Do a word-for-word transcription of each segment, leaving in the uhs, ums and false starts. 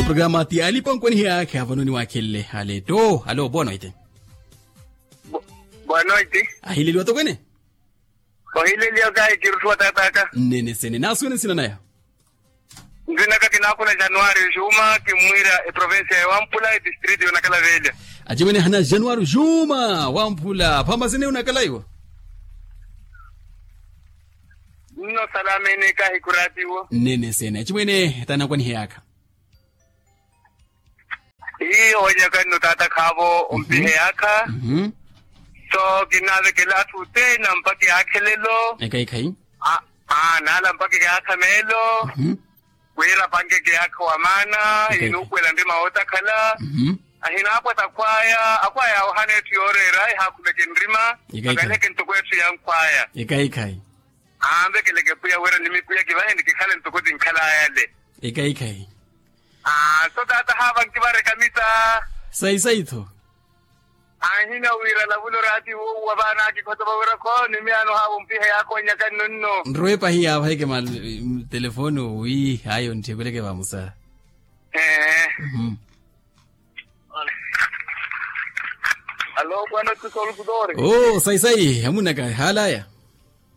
programa ti alipa nkwanihiyaakha vano niwaakhelele aleto alo boa noite. Boa noite. Ahileliwa tokwene. Ohileliwa kahi kirutthuwa tataka. Nnene sene naasuwene nsina naya. Nzinaka kinaakula januari juma kimwiira eprovincia ya wampula etistrito yonakala velya. Acimwene hana januari juma wampula phamasene yonakala iwo. Nno salamene kahi kuratiwo. Nnene sene acimwene tanakwanihiyaakha. Hiyo wanyakanno tata khaavo ompiheyaakha. So kinavekela atthu othene ampakhe yaakhelelo. Ekhayi khayi. Naala ampakhe yaakha meelo. Wira apanke yaakha wa maana. Inuukwela nrima wootakhala. Ahinaapwata akhwaya akhwaya ohana etthu yooreera ehaakhumeke nrima. Akaleke ntoko etthu ya nkhwaya. Ekhayi khayi. Anvekeleke pwiya wira nimipwiya kivahe ni kikhale ntoko tinkhalaya ale. Ekhayi khayi. Aa so tata haava nkivareka misa. Sayi sayi tho. Anhina wira lavulo raati wuuwa vaana akikhotova wira khoo ni miyaano haava ompiha yaakhonyaka nnunnu. Nrweepa hiyaava heke mali telefoni owi haayi ontthipeleke vamusa. Ee. Alo bwana tusolukutore. Oo sayi sayi hamunaka haalaya.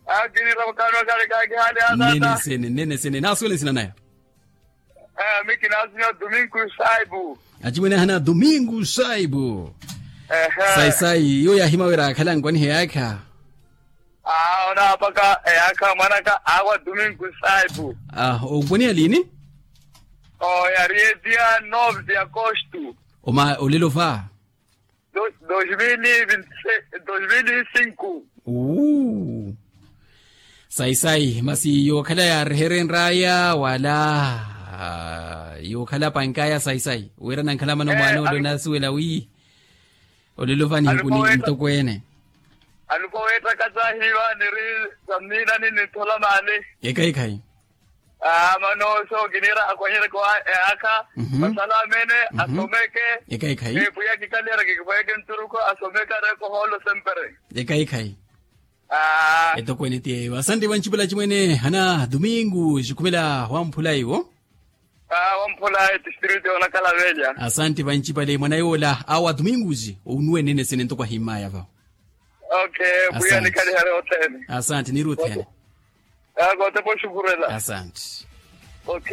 Akinira mukano kale kakihaale hatata. Nnene sene nnene sene naasuwele nsina naya. Ami kinaasina domingo saibu. Acimwene ahana domingo saibu. Sayi sayi iyo yaahima wira akhala nkwaniheyaakha. Aa onaapaka eyaakha mwanaka awa domingo saibu. Onkwaniha liini? Oya riedia nove de agosto. Oma olelo va. Dos mil e vinte e seis dos mil e cinco. Sayi sayi masi yookhala yaareherenraya wala yookhala pankaya sayi sayi wira nankhala mana omwaana ole onaasuwela wi. Olelo vanihiku ni ntokweene. Alupa weettaka taahiiva niri sammiinani ninthola maali. Ekhayi khayi. Aa mano so kiniira akhwanyereke eyaakha. Masala amene asomeke. Ekhayi khayi. Pwiya kikaliyereke kikhwayeke nturuko asomeke areeke ohoolo sempre. Ekhayi khayi. Etokweene ti eyo asanti vancipale acimwene hana domingo cikhumela wamphula iwo. Wamphula etistrito yonakhala velya. Asanti vancipale mwana yoola awa domingo ci onuwe nene sene ntoko ahimmaya va. Ok. Pwiya nikhalihale othene. Asanti niiri othene. Kootepa oxukurela. Asanti. Ok.